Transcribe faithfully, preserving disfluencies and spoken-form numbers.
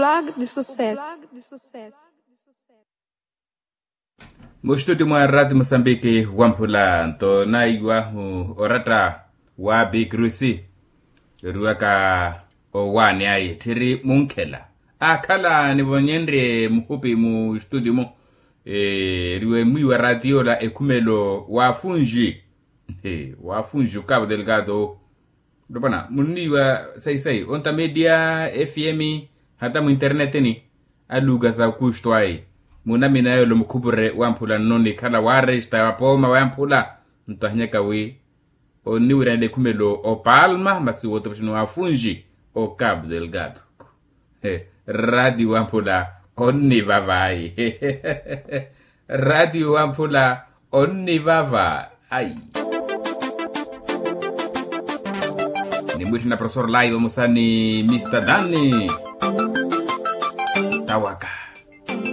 Blog de sucesso. Mustuti mwa rati musambiki wamphula nto naiwahu oratta wa bikrusi. Eriwaka owaani ayi tthiri munkhela akhala nivonyenrye muhupi mustuti mu. Eriwe mwiwa rati yola ekhumelo wa funji. Wa funji okapu delgado. Ntopwana munniiwa sayi-sayi onta media fm hata muinternetini. Aluka sa okustu ayi munamina yolo mukhupure wamphula nno nikhala waresta wapooma wamphula. Nto ahinyaka wi onniwiranela ekhumelo opalma masi wotopexani wafunji. Okapu delgado. Rati wamphula onnivava ayi. Rati wamphula onnivava ayi. Nimwitthe na profesor laiva musani mista dani tawaka.